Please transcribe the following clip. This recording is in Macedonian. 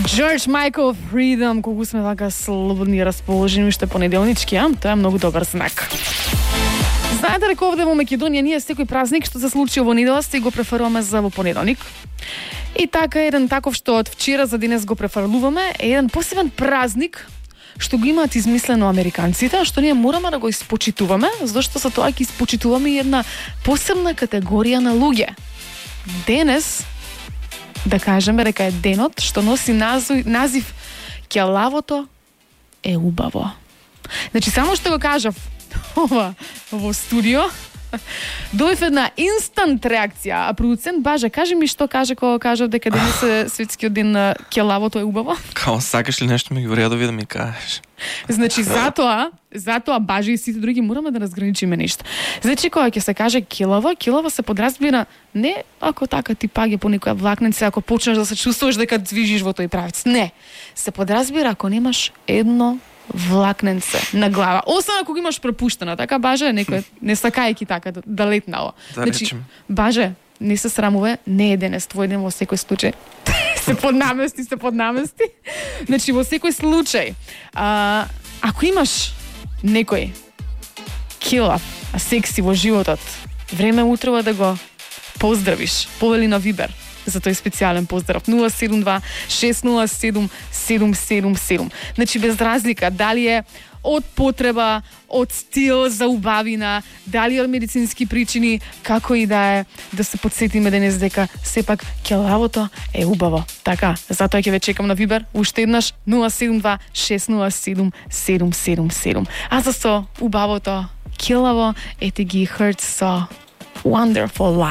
George Michael, Freedom, колку сме така слободни и расположени уште понеделнички, тоа е многу добар знак. Знаете дека овде во Македонија ние секој празник што се случи во недела си го префрлуваме за во понеделник. И така еден таков што од вчера за денес го префрлуваме е еден посебен празник што го имаат измислено американците, што ние мораме да го испочитуваме, зашто со тоа ќе испочитуваме една посебна категорија на луѓе. Денес да кажеме дека е денот што носи назив Ќелавото е убаво. Значи само што го кажав ова во студио, дојдов една инстант реакција, а продуцент Баже, кажи ми што каже кога кажав дека денес е светскиот ден на Ќелавото е убаво? Као, сакаш ли нешто ми го редови да ми кажеш? Значи затоа Баже и сите други мораме да разграничиме нешто. Значи кога ќе се каже Ќелаво се подразбира не ако така ти паѓа по некоја влакница, ако почнеш да се чувствуваш дека движиш во тој правец. Не, се подразбира ако немаш едно влакненце на глава. Освен ако го имаш пропуштено, така Баже, некој не сакајќи така да летнало. Да, значи, речем. Баже, не се срамуве, не е денес твој ден во секој случај. се поднамести. Значи во секој случај, ако имаш некој килав, секси во животот, време утрева да го поздравиш. Повели на Вибер за тој специјален поздрав 072 607 777. Значи без разлика дали е од потреба, од стил за убавина, дали од медицински причини, како и да е, да се подсетиме денес дека сепак Ќелавото е убаво. Така, затоа ќе ве чекам на Вибер уште еднаш 072 607 777. А за со убавото Ќелаво ете ги Hurts со Wonderful Life.